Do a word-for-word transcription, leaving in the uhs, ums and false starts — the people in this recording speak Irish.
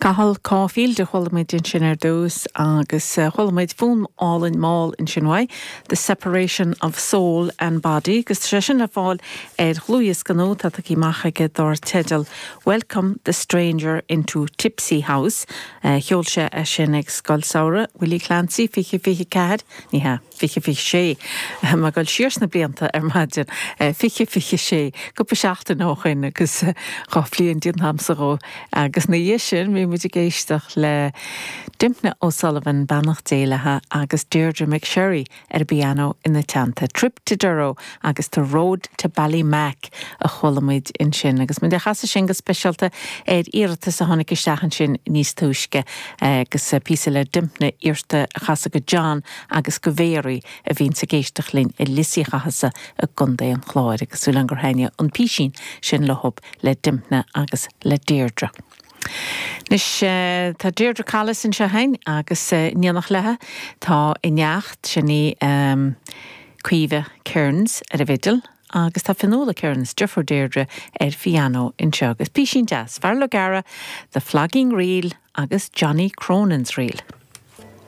Cathal Caulfield a chuala muid ansin ar dtús agus eh, chuala muid fonn álainn mall ansin uaidh, The Separation of Soul and Body, agus sé sin le fáil ar dhlúthdhiosca nua atá tagtha amach aige dar teideal Welcome the Stranger into Tipsy House. Uh, Sheol sé é sin ag Scoil Samhraidh Willie Clancy fiche fiche ceathair ní hea fiche fiche sé má go siar sna blianta ar maidin fiche fiche sé cúpla seachtain ó shin agus dhá bhliain díon hamsa ó agus na dhiaidh sin bhí muid ag éisteacht le Dympna O'Sullivan beannacht Dé léi agus Deirdre McSherry ar piano ina teannta Trip to Durrow agus The Road to Ballymac a chuala muid ansin agus muid a chasadh sin go speisialta ar iarratas a tháinig isteach ansin níos túisce agus píosa le Dympna iarrta a chasadh go John agus go Mary a bhíonn ag éisteacht linn i Lios Uí Chathasaigh i gContae an Chláir agus súil gur thaitin an písín sin leob le Dympna agus le Deirdre. Anois uh, tá Deirdre Collis anseo againn agus uh, in éineacht léi tá a neacht sin í um, Caoimhe Kearns ar an bhfidil agus tá Fionnuala Kearns deirfiúr Deirdre ar piano anseo agus písín deas Fear O'Gara, The Flogging Reel agus Johnny Cronin's Reel.